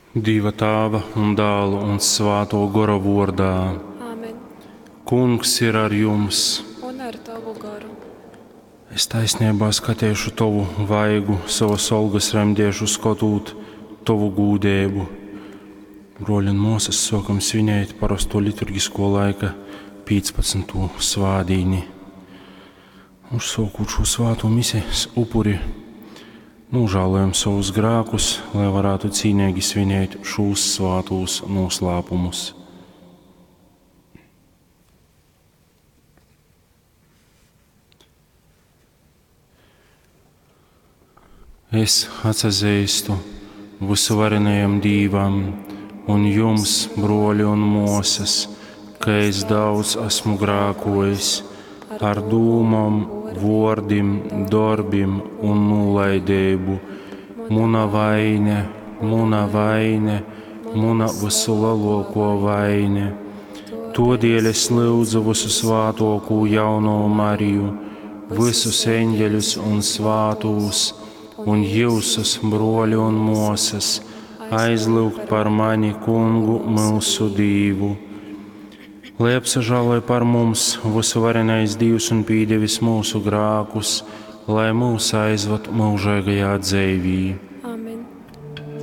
Dīva Tāva un Dāla un Svātō Gora vōrdā. Āmen. Kungs ir ar jums. Un ar tovu goru. Es taisneibā skateišu tovu vaigu, sovas olgas remdēšu skotūt tovu gūdeibu. Brōļi un mōsas, sōkam svinēt parosto liturgisko laika 15. svādīni. Uzsōkūt šo svāto mises upuri, nūžālojam savus grākus, lai varētu cīneigi svinēt šūs svātūs noslēpumus. Es atsazīstu visuvarenajam Dīvam un jums, broļi un mosas, ka es daudz esmu grākojis ar dūmom, vordim, darbim un nolaidību. Muna vaine, muna vaine, muna visulielāko vaine. Todēļ es lūdzu visu svātokū jauno Mariju, visus eņģeļus un svātūs, un jūsus, broļi un mosas, aizlūgt par mani kungu mūsu Dīvu. Lai apsažāloj par mums visuvarenais Dīvs un pīdevis mūsu grākus, lai mūs aizvad mūžīgajā dzīvī.